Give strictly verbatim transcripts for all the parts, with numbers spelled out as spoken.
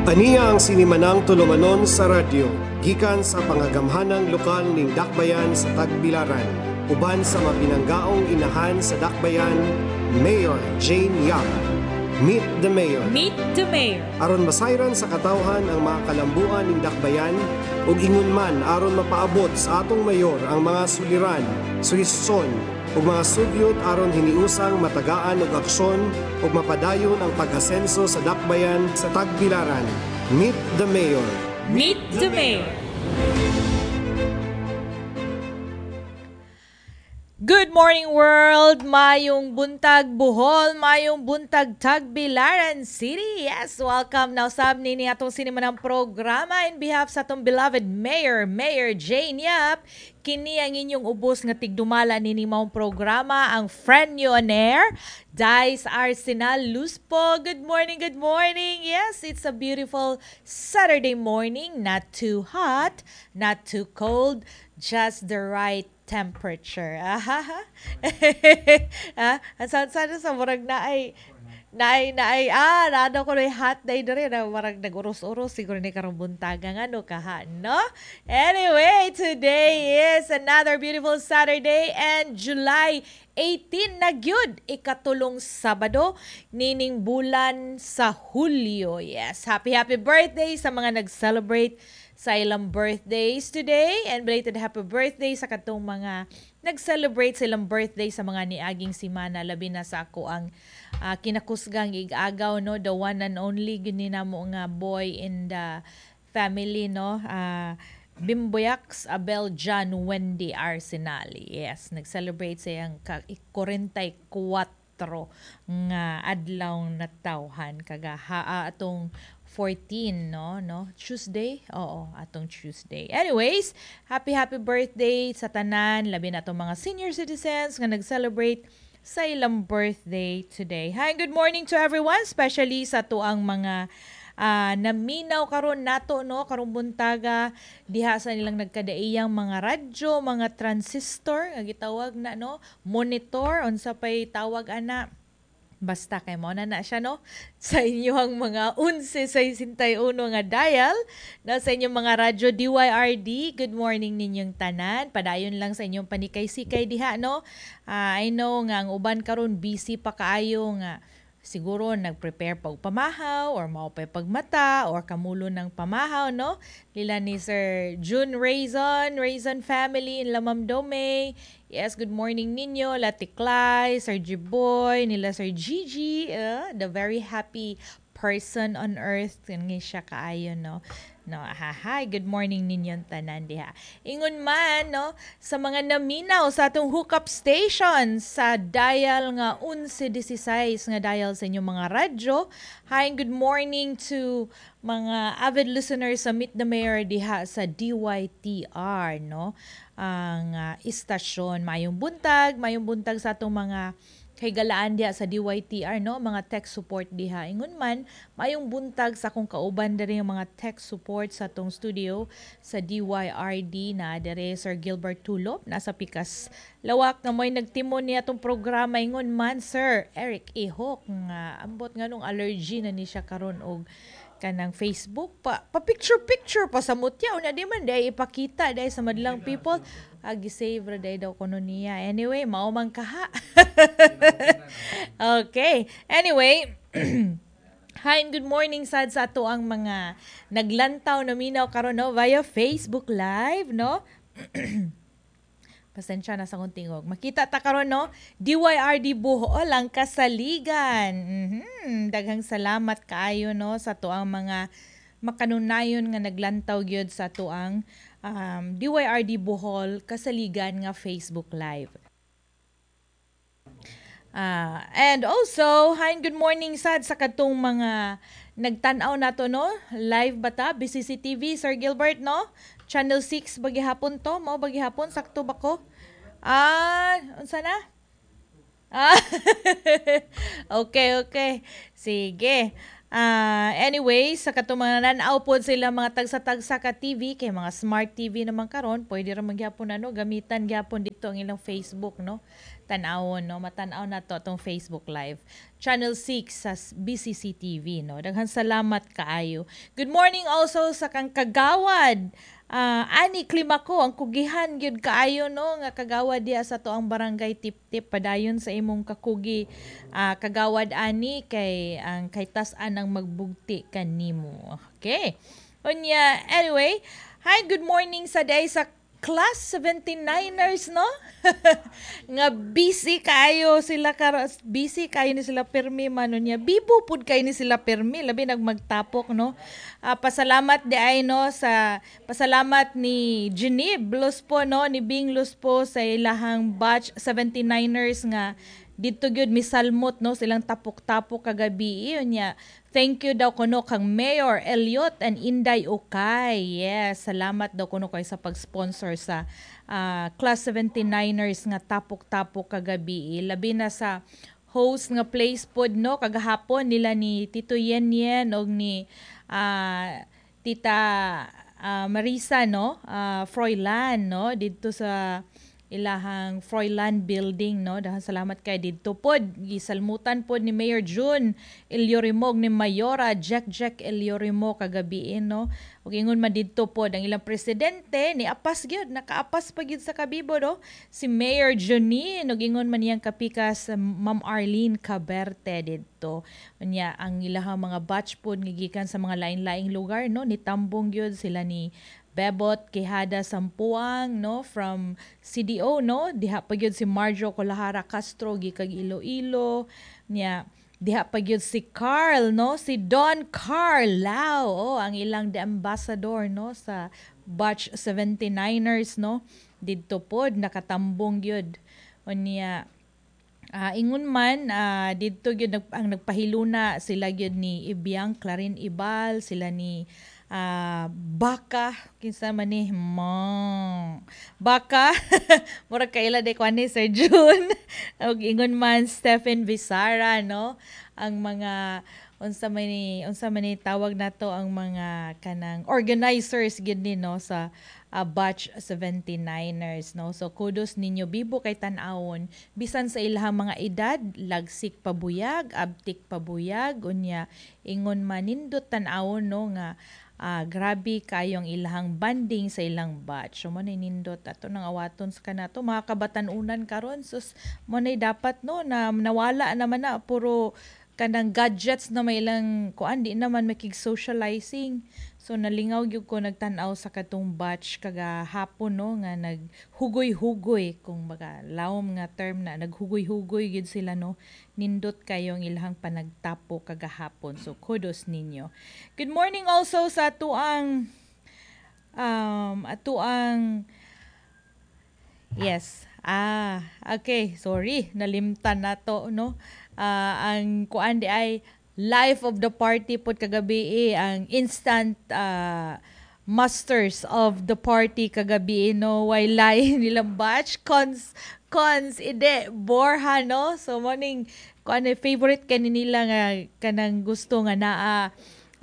Aniya ang sinimanang tulumanon sa radyo, gikan sa pangagamhanang lokal ning Dakbayan sa Tagbilaran. Uban sa mapinanggaong inahan sa Dakbayan, Mayor Jane Yap. Meet the Mayor. Meet the Mayor. Aron masayran sa katawhan ang mga kalambuan ning Dakbayan ug ingon man aron mapaabot sa atong mayor ang mga suliran, suhestyon ug mga sugyot aron hiniusang matagaan og aksyon ug mapadayon ang pag-asenso sa Dakbayan sa Tagbilaran. Meet the Mayor. Meet the Mayor. Good morning, world! Mayong buntag Bohol, mayong buntag Tagbilaran City. Yes, welcome now sab nini atong sinimanang programa in behalf sa atong beloved Mayor, Mayor Jane Yap. Kini ang inyong ubos nga tigdumala nini maong programa, ang friend nyo on air, Dice Arsenal Luspo. Good morning, good morning. Yes, it's a beautiful Saturday morning. Not too hot, not too cold, just the right temperature. Ah, ah, ang sana sa murag na ay naay naay ah naano ko na hot day diri na marag nag-uros-uros siguro ni karong buntaga nga no kaha, no? Anyway, today is another beautiful Saturday and July eighteen na gyud, ikatulong Sabado nining bulan sa Hulyo. Yes, happy happy birthday sa mga nag-celebrate sa ilang birthdays today and belated happy birthday sa katong mga nag-celebrate sa ilang birthday sa mga niaging simana, labi na sa ako ang uh, kinakusgang igagaw, no, the one and only gyud ni namo nga boy in the family, no, uh, Bimboyax Abel John Wendy Arsenali. Yes, nag-celebrate sa iyang ka forty-four nga adlaw natawhan kagaha uh, atong fourteen, no no Tuesday, oo, atong Tuesday. Anyways, happy happy birthday sa tanan, labi na atong mga senior citizens nga nag-celebrate sa ilang birthday today. Hi, good morning to everyone, especially sa tuang mga uh, naminaw karon nato, no, karong buntaga diha sa nilang nagkadaiyang mga radyo, mga transistor nga gitawag na, no, monitor, unsa pay tawag ana. Basta kay mo na na siya, no, sa inyong mga eleven sixty-one nga dial na sa inyong mga radyo D Y R D. Good morning ninyong tanan. Padayon lang sa inyong panikay-sikay diha, no. Uh, I know nga ang uban karon busy pa kaayo nga siguro nag-prepare pa og pamahaw or mao pa pagmata or kamulo ng pamahaw, no, nila ni Sir June Raison, Raison family in Lamam Dome. Yes, good morning ninyo, Latiklay, Sir Jiboy, nila Sir Gigi, uh, the very happy person on earth nga siya kaayo, no no ha. Hi, good morning ninyong tanan diha. Ingon man, no, sa mga naminaw sa atong hookup station sa dial nga eleven sixteen nga dial sa inyong mga radyo. Hi and good morning to mga avid listeners sa Meet the Mayor diha sa D Y T R, no, ang uh, istasyon. Mayong buntag, mayong buntag sa atong mga kay galaan diha sa D Y T R, no, mga tech support diha. Ingon man, mayong buntag sa akong kauban diri, ang mga tech support sa atong studio sa D Y R D na dire, Sir Gilbert Tulop nasa pikas lawak nga mo'y nagtimon niya atong programa. Ingon man, Sir Eric Ihok nga ambot nganong allergy na ni siya karon og kanang Facebook pa pa picture picture pa sa mutya una di man dai ipakita dai sa madlang people. Agi save ra dai daw kuno niya. Anyway, mao man kaha. Okay, anyway. Hi and good morning sad sa ato ang mga naglantaw na minaw karon, no, via Facebook Live, no. Pasensya na sa akong tingog. Makita ta karon, no? D Y R D Bohol ang kasaligan. Mm-hmm. Daghang salamat kaayo, no, sa tuang mga makanunayon nga naglantaw gyud sa tuang um, D Y R D Bohol kasaligan nga Facebook Live. Uh, and also, hi and good morning sad sa katong mga nagtan-aw nato, no? Live ba ta? B C C T V, Sir Gilbert, no? Channel six bagihapon to, mao bagihapon, sakto ba ko? Ah, unsa na? Ah, okay, okay. Sige. Ah, anyway, sa katong mga nan-aw pod sila mga tagsa-tagsa ka T V kay mga smart T V naman karon, pwede ra magyapon ano, gamitan gyapon dito ang ilang Facebook, no. Tan-awon, no, matan-aw na to atong Facebook Live. Channel six sa B C C T V, no. Daghan salamat kaayo. Good morning also sa kang kagawad Ah, Ani Klimako, ang kugihan gyud kaayo, no, nga kagawad diha sa to ang barangay Tip-Tip. Padayon sa imong kakugi, ah, kagawad Ani, kay ang kay tas-an ang magbugti kanimo. Okay. Unya, anyway, hi, good morning sa day sa Class seventy-niners, no? Nga busy kayo sila kar busy kayo ni sila pirmi man niya. Bibo pud kayo ni sila pirmi, labi nagmagtapok, no. Ah, pasalamat di ay, no, sa pasalamat ni Geneve Luspo, no, ni Bing Luspo sa ilahang batch seventy-niners nga didto gyud misalmot, no, silang tapok-tapok kagabi. Unya thank you daw kuno kang Mayor Elliot and Inday Ukay. Yes, salamat daw kuno kay sa pag-sponsor sa ah, Class seventy-niners nga tapok-tapok kagabi, labi na sa host nga place pod, no, kagahapon nila ni Tito Yen Yen og ni ah, Tita ah, Marisa, no, ah, Froilan, no, didto sa ilahang Froilan Building, no. Dahil salamat kay didto pod gisalmutan pod ni Mayor June Ellorimo, ni Mayora Jack Jack Ellorimo kagabi, no. Ug ingon man didto pod ang ilang presidente ni apas gyud, nakaapas pa gyud sa kabibo, no, si Mayor Junine, ug ingon man niyang kapikas, Ma'am Arlene Caberte didto. Unya ang ilahang mga batch pod nga gikan sa mga lain-laing lugar, no, nitambong gyud sila ni Bebot Quijada Sampuang, no, from C D O, no. Diha pa gyud si Marjo Kolahara Castro gikag Iloilo niya. Diha pa gyud si Carl, no, si Don Carl Lau, oh, ang ilang the ambassador, no, sa batch seventy-niners, no. Didto pod nakatambong gyud. Unya Ah, ingon man ah, didto gyud nag, ang nagpahiluna sila gyud ni Ibiang Clarin Ibal, sila ni ah, Baka, kinsa man ni Mo. Baka murag kaila day kuan ni Sir June. Ug ingon man Stephen Visara, no, ang mga unsa man ni unsa man ni tawag nato, ang mga kanang organizers gid ni, no, sa uh, batch seventy-niners, no. So kudos ninyo, bibo kay tan-awon bisan sa ilahang mga edad, lagsik pabuyag, abtik pabuyag. Unya ingon man nindot tan-awon, no, nga ah, grabe kayong ilahang banding sa ilang batch. So mo na nindot ato nang awaton sa kanato mga kabatan-unan karon. Sus, mo na dapat, no, na nawala naman na, puro kanang gadgets na may ilang kuan, di naman makig socializing. So nalingaw gyud ko nagtan-aw sa katong batch kagahapon, no, nga naghugoy-hugoy, kung baga lawom nga term na, naghugoy-hugoy gyud sila, no. Nindot kayo ang ilahang panagtapo kagahapon. So kudos ninyo. Good morning also sa atuang um atuang Yes. Ah, okay. Sorry, nalimtan na to, no? Ah, ang kuan di ay life of the party pod kagabi eh, ang instant ah, masters of the party kagabi, no, way lain nilang batch cons cons ide Borja, no. So morning kuan eh, favorite kani nila nga kanang gusto nga naa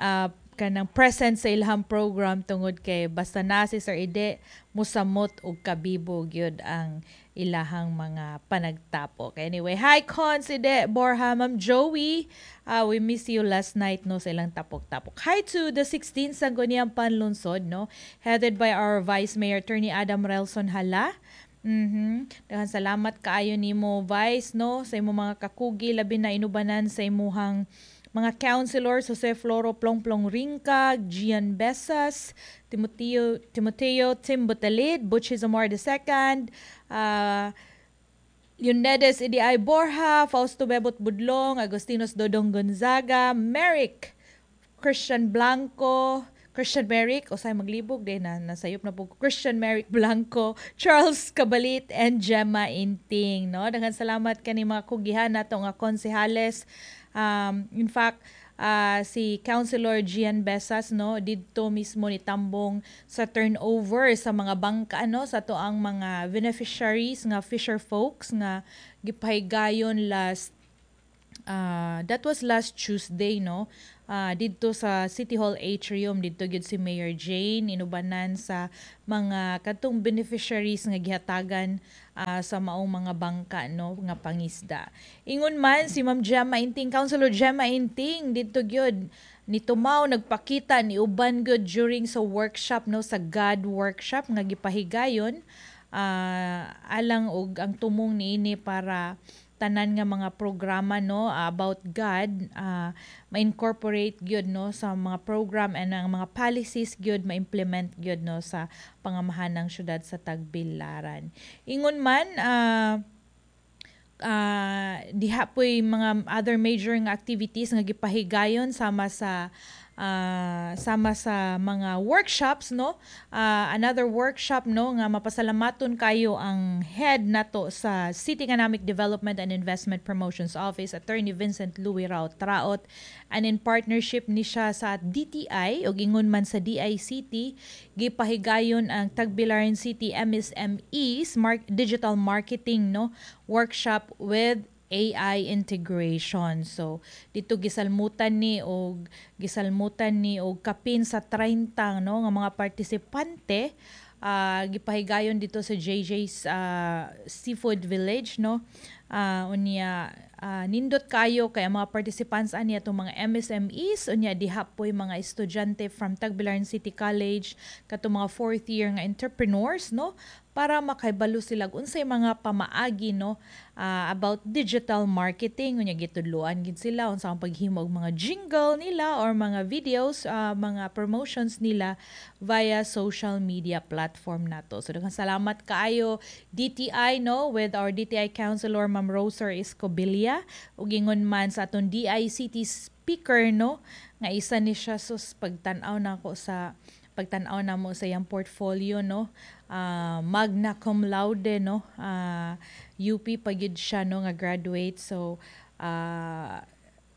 ah, kanang present sa ilahang program tungod kay basta na si Sir Ide, musamot og kabibo gyud ang ilahang mga panagtapok. Anyway, hi Cons Ide Borja, Ma'am Joey. Uh, we miss you last night, no, sa ilang tapok-tapok. Hi to the sixteen Sangguniang Panlungsod, no, headed by our Vice Mayor Attorney Adam Relson Hala. Mhm. Daghan salamat kaayo nimo, Vice, no, sa imong mga kakugi, labi na inubanan sa imuhang mga councilors Jose Floro Plongplong Ringkag, Gian Besas, Timoteo Timoteo Tim Butalid, Butchie Zamora the Second, uh, Yunedes E D I Borja, Fausto Bebot Budlong, Agostinos Dodong Gonzaga, Merrick Christian Blanco, Christian Merrick, o say maglibog din na nasayop na po, Christian Merrick Blanco, Charles Cabalit, and Gemma Inting. No? Daghan salamat kani mga kugihan nato nga konsehales. Um, in fact, uh, si Councilor Gian Besas, no, didto mismo ni tambong sa turnover sa mga bangka, no, sa to ang mga beneficiaries nga fisher folks nga gipahigayon last uh, that was last Tuesday, no. uh, didto sa City Hall Atrium. Didto gyud si Mayor Jane inubanan sa mga kadtong beneficiaries nga gihatagan uh, sa maong mga bangka, no, nga pangisda. Ingon man si Ma'am Gemma Inting, Councilor Gemma Inting, didto gyud ni tumaw, nagpakita ni uban gyud during sa workshop, no, sa God workshop nga gipahigayon uh, alang og ang tumong niini para tanan nga mga programa, no, about God uh, ma-incorporate gyud, no, sa mga program and ang mga policies gyud ma-implement gyud, no, sa pangamahan ng syudad sa Tagbilaran. Ingon man uh, uh, diha po'y mga other major nga activities nga gipahigayon sama sa uh, sama sa mga workshops, no. Uh, another workshop, no, nga mapasalamaton kayo ang head nato sa City Economic Development and Investment Promotions Office, Attorney Vincent Louis Rao Traot, and in partnership ni siya sa D T I ug ingon man sa D I C T, gipahigayon ang Tagbilaran City M S M Es Mark Digital Marketing, no, workshop with A I integration. So dito gisalmutan ni og gisalmutan ni og kapin sa thirty, no, nga mga partisipante, uh, gipahigayon dito sa J J's uh, Seafood Village, no. Uh, unya uh, nindot kayo kay ang mga participants ani atong mga M S M Es, unya diha po'y mga estudyante from Tagbilaran City College, katong mga fourth year nga entrepreneurs, no, para makahibalo sila unsay mga pamaagi, no, uh, about digital marketing. Unya gitudloan gid sila unsa ang paghimo og mga jingle nila or mga videos, uh, mga promotions nila via social media platform nato. So daghang salamat kaayo, D T I, no, with our D T I Councilor Ma'am Roser Escobilla ug ingon man sa atong D I C T speaker, no, nga isa ni siya, sus, pagtan-aw nako sa pagtan-aw namo sa iyang portfolio, no, uh, magna cum laude, no, uh, U P pa gyud siya, no, nga graduate. So uh,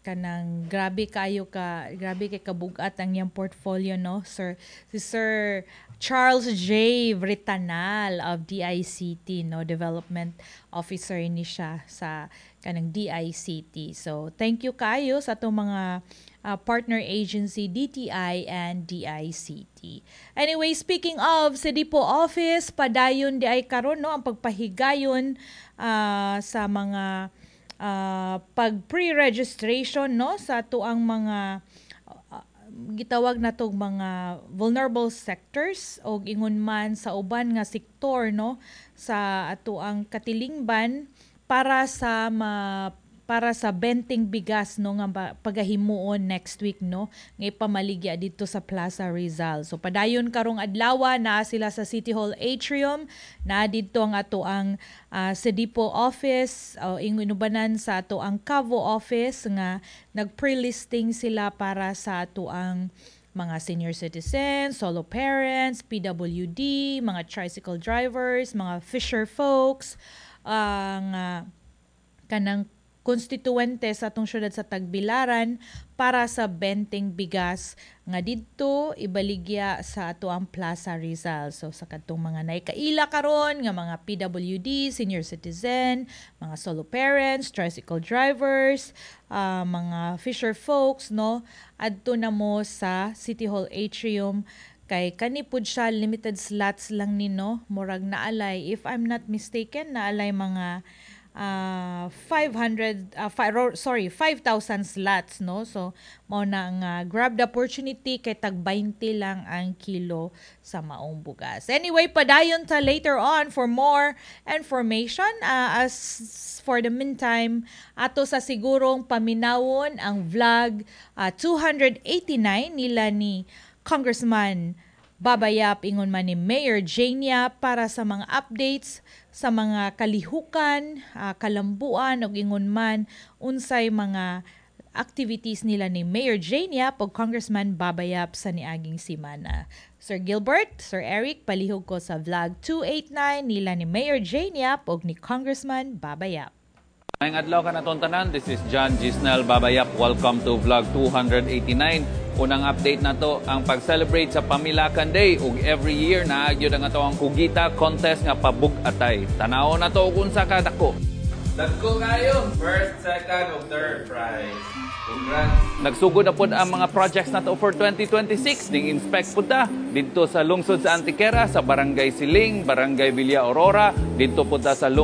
kanang grabe kayo ka grabe kay kabugat ang iyang portfolio, no, sir, si Sir Charles J. Britanal of D I C T, no, development officer ni siya sa kanang D I C T. So thank you kayo sa atong mga uh, partner agency D T I and D I C T. Anyway, speaking of Sedipo office, padayon di ay karon, no, ang pagpahigayon uh, sa mga uh, pag pre-registration, no, sa atuang mga uh, gitawag natong mga vulnerable sectors o ingon man sa uban nga sektor, no, sa atuang katilingban para sa ma para sa benteng bigas, no, nga pagahimuon next week, no, nga ipamaligya dito sa Plaza Rizal. So padayon karong adlaw na sila sa City Hall Atrium na didto ang ato ang uh, Sedipo office o uh, inubanan sa ato ang Cavo office nga nag-pre-listing sila para sa ato ang mga senior citizens, solo parents, P W D, mga tricycle drivers, mga fisher folks, ang uh, kanang konstituente sa atong syudad sa Tagbilaran para sa benteng bigas nga didto ibaligya sa ato ang Plaza Rizal. So sa kadtong mga naikaila karon nga mga P W D, senior citizen, mga solo parents, tricycle drivers, uh, mga fisher folks, no, adto na mo sa City Hall Atrium kay kani pud siya limited slots lang ni, no. Murag naalay, if I'm not mistaken, naalay mga uh, five hundred uh, fi- sorry, five thousand slots, no. So mao na nga uh, grab the opportunity kay tag twenty lang ang kilo sa maong bugas. Anyway, padayon ta later on for more information. Uh, as for the meantime, ato sa sigurong paminawon ang vlog uh, two eighty-nine nila ni Congressman Baba Yap ingon man ni Mayor Jane Yap para sa mga updates sa mga kalihukan, uh, kalambuan ug ingon man unsay mga activities nila ni Mayor Jane Yap ug Congressman Baba Yap sa niaging simana. Sir Gilbert, Sir Eric, palihog ko sa vlog two eighty-nine nila ni Mayor Jane Yap ug ni Congressman Baba Yap. Maayong adlaw kanatong tanan. This is John Gisnel Babayap. Welcome to Vlog two eighty-nine. Unang update na to ang pag-celebrate sa Pamilakan Day ug every year naa gyud ang ato ang Kugita contest nga pabug-atay. Tanaw na to kung unsa ka dako. Dako kayo. First, second, ug third prize. Congrats. Nagsugod na pod ang mga projects nato for twenty twenty-six. Ning inspect pud ta didto sa lungsod sa Antequera, sa Barangay Siling, Barangay Villa Aurora, didto pud ta sa